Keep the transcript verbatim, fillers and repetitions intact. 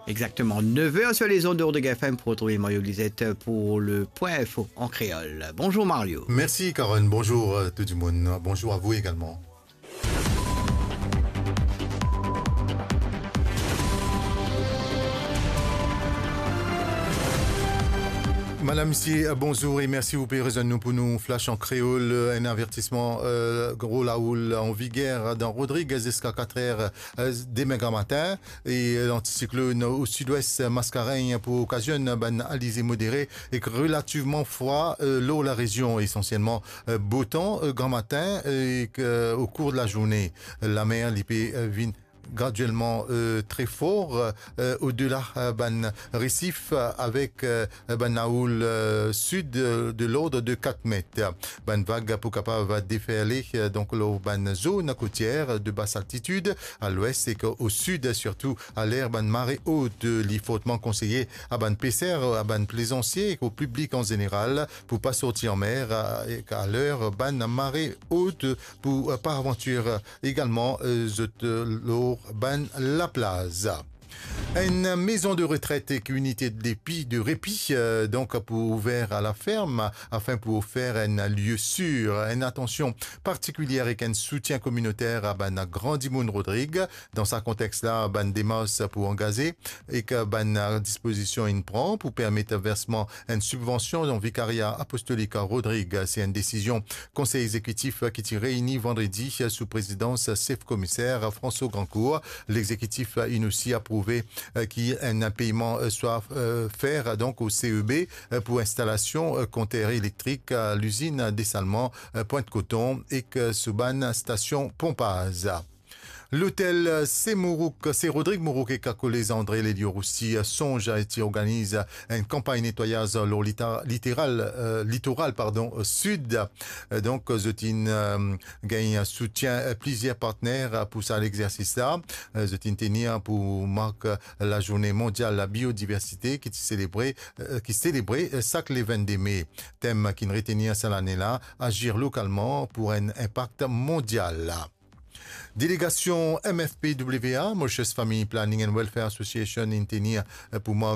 Exactement, neuf heures sur les ondes de Rodrigue F M pour retrouver Mario Lisette pour le Point Info en créole. Bonjour Mario. Merci Karen, bonjour, euh, tout le monde. Bonjour à vous également. Madame, misie, bonzour e mersi ou pe rezwenn nou pou nou Flash an Kreol. Enn avertisman, euh, gro laoul an viger dan Rodrig ziska kat er, euh, demin gramatin. E, euh, lanticyclone au sud-ouest Mascarenhas pou okazionn bann alize modere ek relativman fre, euh, lor larezion, esansielman, euh, bo tan, euh, gramatin, euh, ek, euh, au cours de la journée. Lamer, li pe, euh, vinn graduellement, euh, très fort, euh, au-delà, euh, bann resif, euh, avek, euh, bann laoul, euh, sud, euh, de l'ordre de quatre mètres. Bann vag pou kapav deferle, euh, donk, lor bann zone kotier de basse altitude, à l'ouest ek au sud, surtout à l'heure bann mare ot. Li fortman konseye a bann peser, a bann plezansie ek au piblik an zeneral pou pa sorti anmer, euh, ek a l'heure bann mare ot, pou, euh, par avantir, euh, egalman, euh, zot, euh, lor bann laplaz. Enn maison de retraite ek unité de repi, de repi, euh, donk pou ouver à la ferme, afin pou ofer enn lieu sûr, enn atansion partikilier ek enn soutien kominoter a bann gran dimoun Rodrig. Dan sa kontex la, bann demars pou angaze ek bann dispozision inn pran pou permet versman enn sibvansion dan Vikaria Apostolik Rodrig. Se enn desizion Konsey Egzekitif ki ti reyni vandredi sou prezidans sef komiser François Grandcourt. Legzekitif inn osi aprouve, euh, ki enn peyman, euh, swa, euh, fer, donk, au C E B, euh, pou instalasion, euh, konter elektrik, euh, lizinn desalman, euh, Pointe Coton ek, euh, sou bann stasion ponpaz. Lotel Se Mourouk, Se Rodrig Mourouk ek Kolez André Lelio Roussy, euh, sonz, euh, ti organiz enn kanpagn netwayaz lor lita-, literal, euh, litoral, pardon, euh, sid. Euh, donk, zot inn, euh, gagn soutien, euh, plizier partner, euh, pou sa legzersis la. Euh, zot inn tenir pou mark, euh, lazourne mondial labiodiversite ki ti selebre, euh, ki selebre, euh, sak le vennde me. Tem ki'nn retenir sa lane la, Agir localement pour un impact mondial. Delegasion M F P W A, Mauritius Family Planning and Welfare Association, inn tenir, euh, pou mark